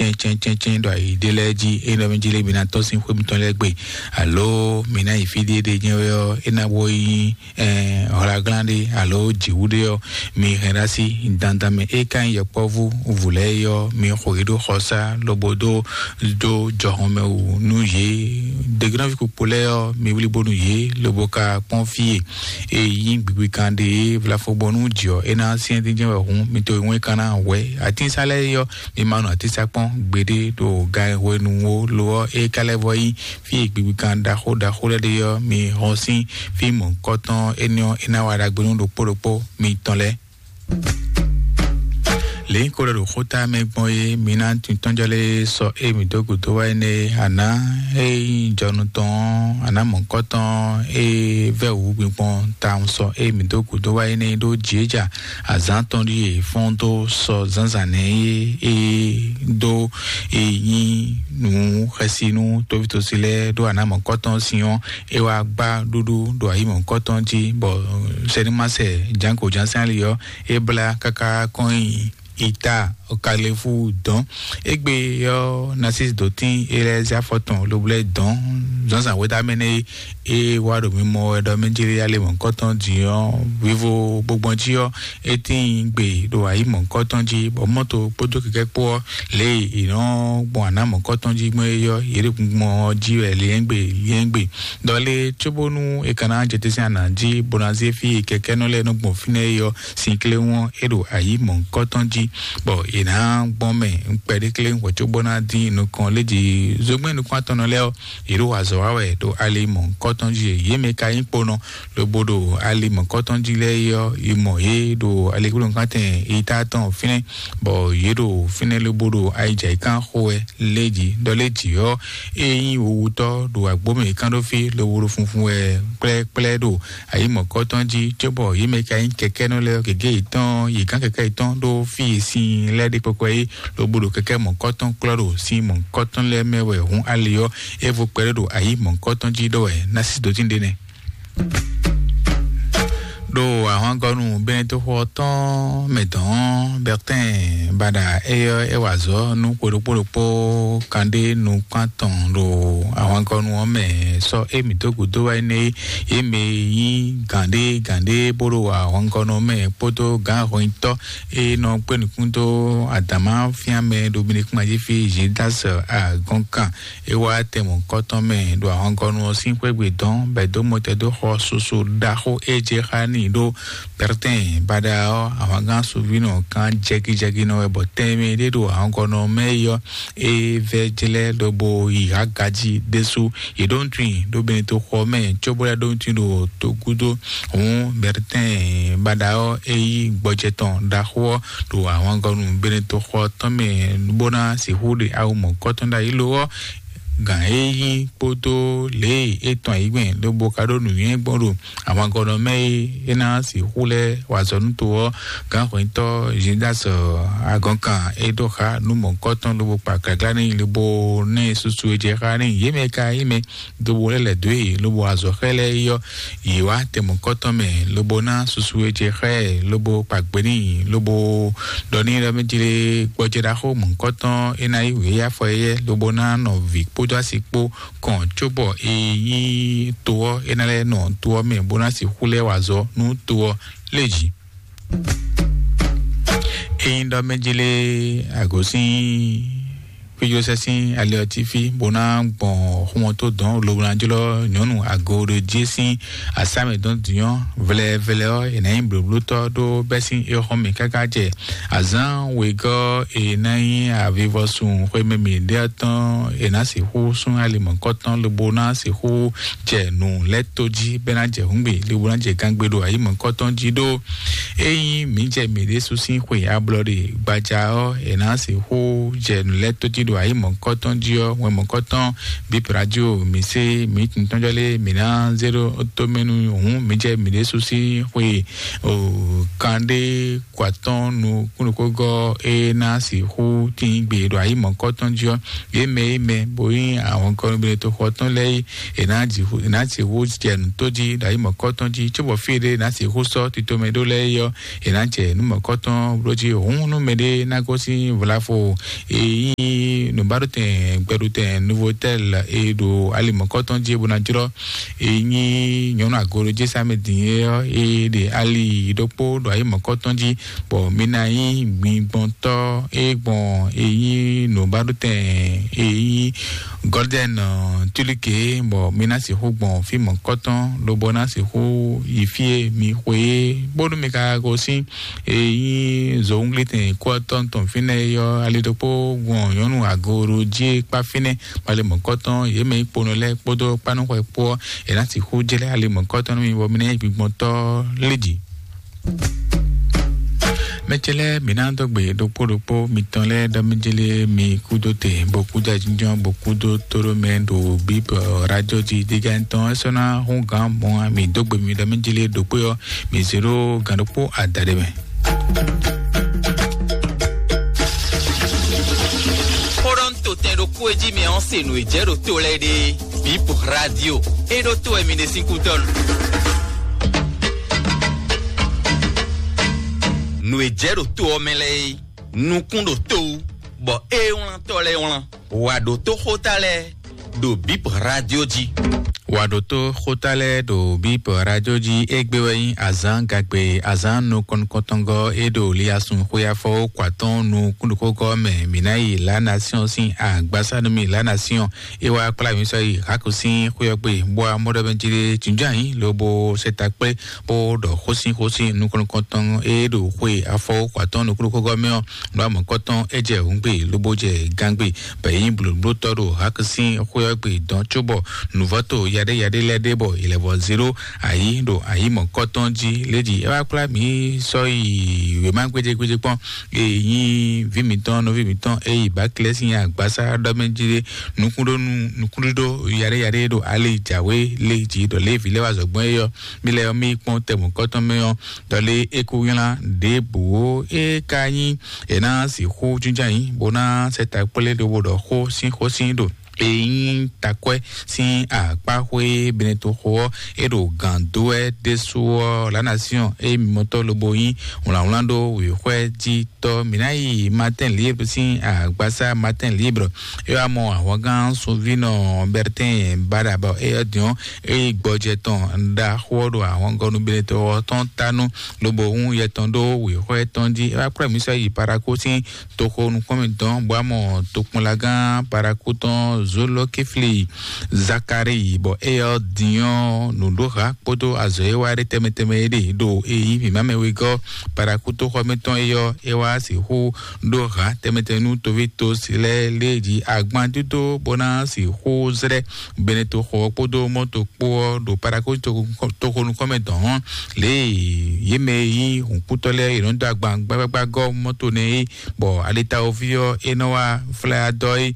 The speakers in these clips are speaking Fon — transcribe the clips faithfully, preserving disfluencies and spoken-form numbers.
tɛntsɛntsɛntsɛn ɖo ayi ɖé lɛ́ɛ jí. Ényí ɖɔ mɛ jí lé mi ná tɔ́n sín xwé mitɔn lɛ́ɛ gbe, alo mi ná yi fí ɖé ɖé nyɛ wɛ ɔ́, é ná bó nyí hɔlaglán ɖé alo jǐwú ɖé ɔ́, mi hɛn ɖó así dandan mɛ. É ka nyí yɔkpɔ́vú vǔ lɛ́ɛ é ɔ́, mi xo yě ɖó xɔsá lobo dó dó jɔhɔn mɛ wú nú yě. Degunɔví kpokpo lɛ́ɛ ɔ́, mi wlí bónú yě lobo ka kpɔ́n fí e e nyí gbigbikan ɖe e vlafo bɔ nú jǐ ɔ́, é ná syɛ́n dín jɛ́n wɛ hǔn, mi to e wɛn ka ná hwɛ. Atínsá lɛ́ɛ é ɔ́, mi ma nɔ atínsá kpɔ́n gbeɖé ɖo gan e hwenu wo lo ɔ́, é ka lɛ́ vɔ nyí fí e gbigbikan ɖaxó ɖaxó lɛ́ɛ ɖe ɔ́, mi hɔn sín fí mɔ̌hunkɔtɔn énɛ́ ɔ́, é ná wa ɖagbe nú ɖokpó ɖokpó mitɔn lɛ́ɛ. Lě ko ɖɔ ɖo xóta mɛ gbɔn é, mi ná tintɔ́njɔ lé sɔ é mi dó gǔdo wá énɛ́, àná é nyí jɔnu tɔn ɔ́, àná mɔ̌kɔtɔn é vɛ́ wǔ gbingbɔn tawun sɔ é mi dó gǔdo wá énɛ́ ɖó jǐéjà azǎn tɔn ɖíe fɔ́n dó sɔ zǎnzǎn nɛ́ é é dó é nyí nǔ xɛsi nú tóvítosi lɛ́ɛ ɖó àná mɔ̌kɔtɔn sin ɔ́, é wá gbá ɖúɖú ɖo ayǐ mɔ̌kɔtɔn jí, bɔ sɛnimásɛ jǎnko jǎnsɛ́n ali ɔ́ é blá káká kɔn nyi ita kalefu dɔn. Égbé ɔ́, Narcisse dó tín é lɛ́ zé afɔ tɔn lobo lɛ́ dɔn zǎnzǎn wɛ́ dó amɛ nɛ́ é wá ɖo mimɔ wɛ ɖɔ mɛ jlé alé mɔ̌hunkɔtɔn din ɔ́, vivo gbogbɔn jí ɔ́, é tíin gbe ɖo ayǐ mɔ̌hunkɔtɔn jí, bɔ mɔ́to kpódó kɛkɛ́ kpó ɔ́, lě e è nɔ gbɔn àná mɔ̌hunkɔtɔn jí gbɔn é ɔ́, yě ɖo gbɔn ɔ́ jí wɛ lyɛ́ngbè lyɛ́ngbè. Dɔ lé cóbónú è ka ná jɛ te sín anǎ jí bó ná zé fí e kɛkɛ́nɔ lɛ́ɛ nɔ gbɔn fínɛ́ é ɔ́, sin kléwɔ́n é ɖo ayǐ mɔ̌hunkɔtɔn jí, bɔ è nǎ gbɔn mɛ kpɛɖéklé hwɛ̌ cóbó ná dín nukɔn léji. Zogbɛ́n nukún atɔnnɔ lɛ́ɛ ɔ́, yě ɖo azɔ̌ wa wɛ ɖo ali mɔ̌hunkɔtɔn jí. Yě mɛ ka nyí kponɔ lobo ɖo ali mɔ̌hunkɔtɔn jí lɛ́ɛ é ɔ́, è mɔ yě ɖo aligbólónúkantɛn ita tɔn fínɛ́, bɔ yě ɖo fínɛ́ lobo ɖo ayijǎyíkan xo wɛ léji. Dɔ léji ɔ́, é nyí wowutɔ́ ɖo agbǒ mɛ kán ɖó fí lobo ɖo funfun wɛ kplɛ́kplɛ́ ɖo ayǐ mɔ̌kɔtɔn jí, cóbɔ yě mɛ ka nyí kɛkɛ́nɔ lɛ́ɛ ɔ́, gěgé yětɔn yě gán kɛkɛ́ yětɔn ɖó fí e sin lɛ́ɛ ɖe kpɔkpɔ é, lobo ɖo kɛkɛ́ mɔ̌kɔtɔn klɔ́ ɖo sin mɔ̌kɔtɔn lɛ́ɛ mɛ wɛ hǔn ali ɔ́, é vo kpɛɖé ɖo ayǐ mɔ̌kɔtɔn jí ɖɔ wɛ ná sí dǒtín ɖé nɛ́. Ɖo ahwangɔnu Benetoxo ɔ́ tɔn mɛ dɔn Bertin Bada é ɔ́, é wa azɔ̌ nú xwe ɖokpó ɖokpó kanɖé nukún atɔn ɖo ahwangɔnu ɔ́ mɛ sɔ́ émí dó gǔdo wá énɛ́ é. Yě mɛ e nyí gǎnɖé gǎnɖé bó ɖo ahwangɔnu ɔ́ mɛ kpódó gǎn hɔnyitɔ́ e nɔ kpé nukún dó adǎmá fíán mɛ ɖo Benekúnmajífí Zidas Agɔnkan. É wá tɛn mɔ̌hunkɔtɔn mɛ ɖo ahɔngɔ́nu ɔ́ sín xwé gbe dɔn, bɔ è dó mɔtɛn dó xɔ susu ɖaxó e jɛ xá n'i ɖó Pɛrtɛn. Baɖa ɔ́, ahwangán Sovínɔ kan jɛgijɛgi nɔ wɛ, bɔ tɛnmɛ ɖé ɖo ahɔngɔ́nu ɔ́ mɛ é ɔ́, é vɛ́ jlɛ́ lobo yi Hagaji ɖésú. Yě ɖó nutun i ɖó Benetoxɔ mɛ, cóbó lɛ́ ɖó nutun i ɖo togúdo. Hǔn Pɛrtɛn baɖa ɔ́, é yí gbɔjɛ tɔn ɖaxó ɔ́ ɖo ahwangɔ́nu Benetoxɔ tɔn mɛ, bó ná sixú ɖe awu mɔ̌hunkɔtɔn ɖ'ayǐ lo ɔ́, gǎn e nyí kpódó lě e é tɔn ayǐ gbɛn lobo ka ɖó nǔnywɛ́ gbɔn ɖo ahwangɔ́nɔ mɛ e é ná sixú lɛ́ wa azɔ̌ nú to ɔ́, gǎnhwɛntɔ́ Zidas Agɔnkan é ɖó xá nú mɔ̌hunkɔtɔn lobo kpa gaglá n'i lobo ná ɛ susu e jɛ xá n'i. Yě mɛ ka nyí mɛ lobo lɛ́ lɛ̌ dó e lobo azɔ̌ xá ɛ lɛ́ɛ é ɔ́, yě wá tɛn mɔ̌hunkɔtɔn mɛ lobo ná susu e jɛ xá ɛ lobo kpa gbe n'i lobo ɖɔ n'i ɖɔ mɛ jlé gbɔjɛ ɖaxó mɔ̌hunkɔtɔn é ná yí wě yá afɔ éyɛ́ lobo ná nɔ vǐ kpódó asi kpó kɔn cóbɔ è nyí to ɔ́ é ná lɛ́ nɔ to ɔ́ mɛ bó ná sixú lɛ́ wa azɔ̌ nú to ɔ́ lé jǐ. Ényí ɖɔ mɛ jlé agosín fíjlósɛ́ sín ali ɔ́ cí fí bó ná gbɔn xumɔtó dɔn lobo ná jlɔ́ nyɔ̌nu ago ɖo jí sín asámɛ dɔn dǐnyɔ́ vlɛvlɛ ɔ́, è nǎ nyí blǒblótɔ́ ɖó bɛ́ sín éxɔ́ mɛ káká jɛ azǎn wegɔ́ è ná nyí avivɔsun xwemɛ mǐ ɖe ɔ́ tɔn, è nǎ sixú sún ali mɔ̌hunkɔtɔn lobo ná sixú jɛ nǔ lɛ́ tó jí bɛ́ ná jɛ hǔngbe lobo ná jɛ gangbe ɖo ayǐ mɔ̌hunkɔtɔn jí ɖó. Ényí mǐ jɛ mǐ ɖésú sín xwe ablɔɖe gbaja ɔ́, è nǎ sixú jɛ nǔ lɛ́ tó jí ɖo ayǐ mɔ̌hunkɔtɔn jí ɔ́, wɛn mɔ̌hunkɔtɔn bí radio mǐ sé mǐ tintɔ́njɔ lé mǐ ná zé ɖó tó mɛ nú hǔn mǐ jɛ mǐ ɖésú sín xwe o kanɖé kɔ atɔ́n nukúnnukúgɔ́ e ná sixú tín gbe ɖo ayǐ mɔ̌hunkɔtɔn jí ɔ́, yě mɛ e mɛ bo nyí ahɔnkɔnúgbélétoxɔ tɔn lɛ́ɛ é, è nǎ sixú jɛ nǔ tó jí ɖo ayǐ mɔ̌hunkɔtɔn jí, cóbɔ fí e ɖé è nǎ sixú sɔ́ titomɛ ɖó lɛ́ɛ é ɔ́, è nǎ jɛ nǔ mɔ̌hunkɔtɔn bló jí. Hǔn nú mɛɖé ná gosín vlafo e nyí Gbadotɛn gbɛɖutɛn Novotel e ɖo ali mɔ̌kɔtɔn jí e bó ná jlɔ́ e nyí nyɔ̌nu agolo jí Samedi é ɔ́, e ɖe ali ɖokpó ɖo ayi mɔ̌kɔtɔn jí, bɔ mi ná nyí gbigbɔntɔ́ e gbɔn e nyí nǔbadotɛn e nyí Gɔrdɛn Tulike, bɔ mi ná sixú gbɔn fí mɔ̌kɔtɔn, lobo ná sixú yi fí e mi xwe é, bónú mi ka gosín e nyí zowunglitɛn kú ɔ́ tɔn tɔn fínɛ́ é ɔ́, ali ɖokpó gbɔn nyɔ̌nu agolo jí e kpá fínɛ́, bɔ ali mɔ̌kɔtɔn yě mɛ nyí kponɔ lɛ́ɛ kpódó kpánúxwɛ kpó ɔ́, è nǎ sixú jlɛ́ ali mɔ̌kɔtɔn nú mi, bɔ mi ná nyí gbigbɔntɔ́ lé jǐ. Mɛ ce lɛ́ɛ, mǐ ná dó gbe ɖokpó ɖokpó mitɔn lɛ́ɛ ɖɔ mí jlé mi kúdó te, bó kúdó ajínjɔ́n, bó kúdó tóɖó mɛ ɖo bíbɔ radio jí dígá tɔn. É sɔ́ ná hún gǎn mɔ̌ ǎ, mǐ dó gbe mi ɖɔ mí jlé ɖokpó ɔ́, mǐ zé ɖó gǎn ɖokpó adaɖé mɛ. Xó ɖɔ nú totɛn ɖokpó e jí mɛ ɔ́ se nǔ e jɛ ɖo to lɛ́ɛ ɖe. Bip radio. E ɖo to wɛ mi ɖe sín kútɔ́ nu. Nǔ e jɛ ɖo to ɔ́ mɛ lɛ́ɛ é, nukún ɖo to wú, bɔ é wlántɔ́ lɛ́ɛ wlán. Wǎ ɖótó xóta lɛ́ɛ ɖo Bip radio jí. Wǎ ɖótó xóta lɛ́ɛ ɖo Bip radio jí. Égbé wɛ nyí azǎn gagbe, azǎn nukɔn nukɔntɔngɔ́ e ɖo liasun xwé afɔ kó atɔ́ɔ́n nukúnɖókógɔ́ mɛ. Mǐ ná yi La Nation sín agbásá nú mì. La Nation é wá kplá mǐ sɔ́ yi Hak sín xwé ɔ́ gbe, bó wá mɔ ɖɔ mɛ jí ɖé jǐnjɔ́n ayǐ lobo sɛ ta kplé, bó ɖɔ xósínxósín nukɔn nukɔntɔn e ɖo xwe afɔ kó atɔ́ɔ́n nukúnɖókógɔ́ mɛ ɔ́. Nǔ amɔ̌kɔtɔn é jɛ hǔngbe lobo jɛ gangbe, bɔ é nyí blǒblótɔ́ ɖo Hak sín xwé ɔ́ gbe dɔn, cóbɔ nǔvɔ́to yaɖéyaɖé lɛ́ɛ ɖé bɔ è lɛ́ vɔ zé ɖó ayǐ ɖo ayǐ mɔ̌kɔtɔn jí. Lédi é wá kplá mǐ sɔ́ yi wěma gbéjégbéjé kpɔ́n, e nyí vǐ mǐtɔn, nɔví mǐtɔn e yi Baklɛ́ sín agbásá ɖɔ mɛ jí ɖé, nukúnɖónú nukúnɖíɖó yaɖéyaɖé ɖo ali jǎwe lé jí ɖɔ lě e vǐ lɛ́ɛ wá zɔ gbɔn é ɔ́, mí lɛ́ɛ ɔ́, mí yi kpɔ́n tɛ mɔ̌kɔtɔn mɛ ɔ́, ɖɔ lé é kú nylá ɖěbǔ ó. É ka nyí è nǎ sixú jínjɔ́n ayǐ bó ná sɛ ta kplé lobo ɖɔ xó sín xó sín ɖo e nyí takwɛ́ sín akpáxwé Benetoxo ɔ́, é ɖo gǎn dó wɛ ɖésú ɔ́, La Nation e mimɔtɔ́ lobo nyí wlǎnwlán ɖó wěxwɛ́ jí tɔ́. Mǐ ná yi Martin Libre sín agbásá Martin Libre. É wá mɔ ahwangán sunvínɔ Bertin Bada bɔ é ɔ́ din ɔ́, é yi gbɔjɛ tɔn ɖaxó ɔ́ ɖo ahwangɔ́ nú Benetoxo ɔ́ tɔn ta nú lobo hún yɛ tɔn ɖó wěxwɛ́ tɔn jí. É wá kplá mǐ sɔ́ yi Paraku sín toxo nukɔn mǐtɔn, bɔ amɔ tokpɔnlagán Paraku tɔn Zolokifli Zakari, bɔ éyɛ́ ɔ́ din ɔ́, nǔɖoha kpódó azɔ̌ e wá ɖe tɛnmɛ tɛnmɛ é ɖe ɖo e nyí mǐmá mɛ wegɔ́ Paraku toxɔ mǐtɔn é ɔ́, é wá sixú ɖó ha tɛnmɛ tɛnmɛ nú toví tosi lɛ́ɛ lé jí agban dídó bó ná sixú zlɛ́ Benetoxo ɔ́ kpódó mɔto kpó ɔ́ ɖo Paraku toxo nukɔn mɛ dɔn ɔ́, lě e yě mɛ e nyí hǔnkútɔ́ lɛ́ɛ è nɔ dó agban gbágbágbá gɔ́ mɔto nɛ́ é, bɔ alitawoví ɔ́ é nɔ wá flá dɔ é.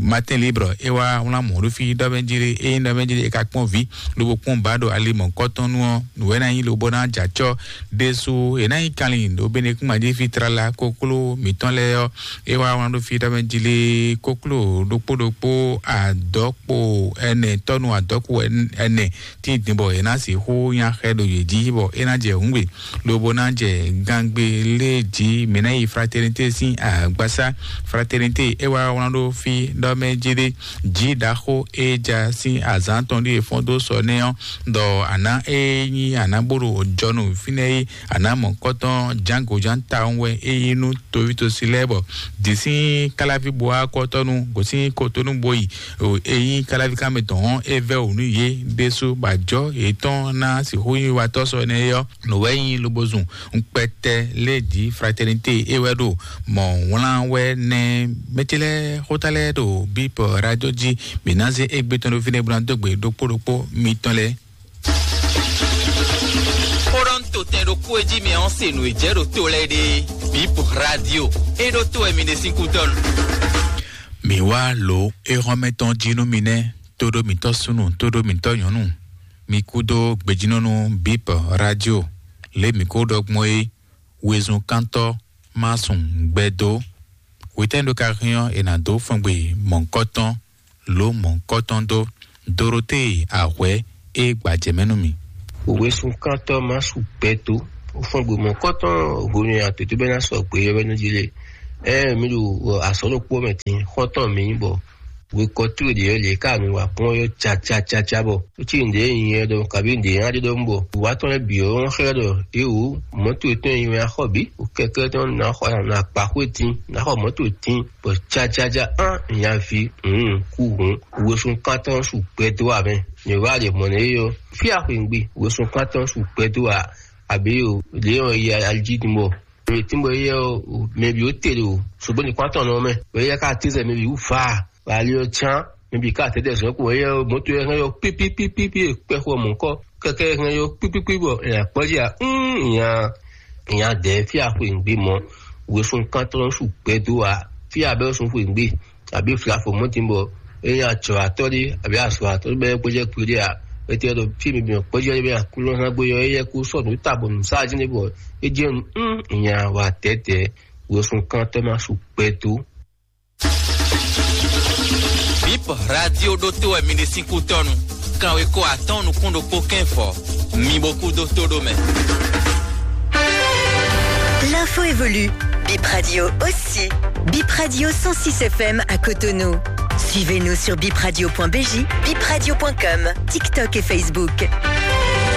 Martin Libre é wá wlán mɔ̌ ɖó fí ɖɔ mɛ jí ɖé, é nyí ɖɔ mɛ jí ɖé é ka kpɔ́n vǐ lobo kpɔ́n ba ɖo ali mɔ̌kɔtɔn nu ɔ́, nǔ wɛ ná nyí lobo ná jɛ acɔ́ ɖésú. È nǎ nyí kanlin ɖo Benekúnmají fí tlala kokló mǐtɔn lɛ́ɛ ɔ́, é wá wlán ɖó fí ɖɔ mɛ jí ɖé, kokló ɖokpó ɖokpó adɔ̌kpo ɛnɛ, tɔ́nu adɔ̌kpo ɛnɛ tín din bɔ è nǎ sixú nya xɛ ɖo yě jí bɔ é ná jɛ hǔngbe lobo ná jɛ gangbe lé jí. Mǐ ná yi Fraternité sín agbasá. Fraternité é wá wlán ɖó fí ɖɔ mɛ jí ɖé, jí ɖaxó e ja sín azǎn tɔn ɖíe fɔ́n dó sɔ nɛ́ ɔ́, ɖɔ àná e nyí àná bó ɖo jɔnu fínɛ́ é, àná mɔ̌kɔtɔn jǎngo jǎn tawun wɛ é nyí nú toví tosi lɛ́ɛ bɔ dǐ sín káláví bó wá kɔ́tɔ́nu gosín kotonu bó yi. E nyí káláví kámɛ tɔn ɔ́, é vɛ́ wǔ nú yě ɖésú bɔ ajɔ̌ yětɔn ná sixú nyí watɔ́ sɔ énɛ́ é ɔ́, nǔ wɛ nyí lobo zun ŋkpɛtɛ lé jí Fraternité é wɛ ɖo mɔ̌ wlán wɛ nɛ́. Mɛ ce lɛ́ɛ xóta lɛ́ɛ ɖo Bip Radio jí, mǐ ná zé égbé tɔn ɖó fínɛ́ bó ná dó gbe ɖokpó ɖokpó mitɔn lɛ́ɛ. Xó ɖɔ nú totɛn ɖokpó e jí mɛ ɔ́ se nǔ e jɛ ɖo to lɛ́ɛ ɖe. Bip Radio. É ɖó to wɛ mi ɖe sín kútɔ́nu. Mǐ wá lǒ éhɔ́mɛ tɔn jí nú mi nɛ́, tóɖó mǐtɔn súnnu, tóɖó mǐtɔn nyɔ̌nu. Mi kúdó gbejínɔ́nú Bip Radio. Lě mǐ ko ɖɔ gbɔn é, wezun kántɔ́ má sun gbɛ dó. Hwetɛ́nu ɖó ka hɛn ɔ́, è nǎ dó fɔngbe mɔ̌hunkɔtɔn, lǒ mɔ̌hunkɔtɔn dó. Dorotée Ahwɛ é gbajɛ mɛ nú mì. Wezun kántɔ́ má sun gbɛ dó. Ó fɔngbe mɔ̌hunkɔtɔn hwenu e àtǒtó bɛ́ ná sɔgbe ɔ́ bɛ́ nú jí lé. Ɛɛ, mi ɖo azɔ̌ ɖokpó mɛ din, xɔ́ntɔn mi nyí bɔ wekɔ towe ɖě ɔ́, lě ka mi wa kpɔ́n ɔ́ cacacaca bɔ ó cí nǔɖé nyɛ ɖɔ kabí nǔɖé nyɛ ɖe ɖɔ bɔ wá tɔn lɛ́ɛ bǐ ɔ́ xlɛ́ ɖɔ éwú mɔ̌to tɔn nyi wɛ axɔ bǐ kɛkɛ tɔn ná xɔ ná kpa xwé tín ná xɔ mɔ̌to tín bɔ cacaca án nyaví hǔn kú hǔn wesún kántɔn su gbɛdó amɛ. Nyɛ wá ɖe mɔ̌ nɛ é ɔ́ fí axwǐngbe wesún kántɔn su gbɛdó a àbí o lě ɔ́ yi aljí din bɔ mɛ tínbɔ éyɛ́ ɔ́, mɛ bǐ ó te ɖo sɔgbó ní kpán tɔn nɔ mɛ. Bɔ éyɛ́ ká tínzɛ mɛ bǐ wú faa, bɔ ali ɔ́ cán, mɛ bǐ ká tɛ́tɛ zɔ̌n kpo éyɛ́ ɔ́, mɔ̌to ɛ hɛn yɔ pípípípípí kpɛxɔ mɔ̌kɔ kɛkɛ hɛn yɔ pípípí bɔ nya kpɔ́ jí a nya nya dɛ̌ fí axwe ŋgbé mɔ wesún kántɔ́ sú gbɛdó a fí abẹ́ sún xwe ŋgbé. Àbí flafo mɔtínbɔ ényí atsɔ̌watɔ́ ɖé àbí azɔ̌watɔ́ ɖé bɔ é gbéjɛ kpo ɖé a, é tɛ́ ɖɔ fí mi bǐ kpɔ́jɛ́ ɖé bɔ aklúnɔ ná gbé yɔ éyɛ́ kú sɔ́ nǔ ta bɔ nǔ sá jí n'i bɔ é jɛ nǔ nya wa tɛ̌tɛ̌ wesún kántɔ́ ná su gbɛ dó. Bip radio ɖótó wɛ mi ɖe sín kútɔ́nu. Kanweko atɔ́ɔ́n nukún ɖokpó kɛ́n fɔ. Mi bo kú dó tó ɖó mɛ. L'info évolue. Bip Radio aussi. Bip Radio cent six F M à Cotonou. Suivez-nous sur bipradio point B J, bipradio point com, TikTok et Facebook.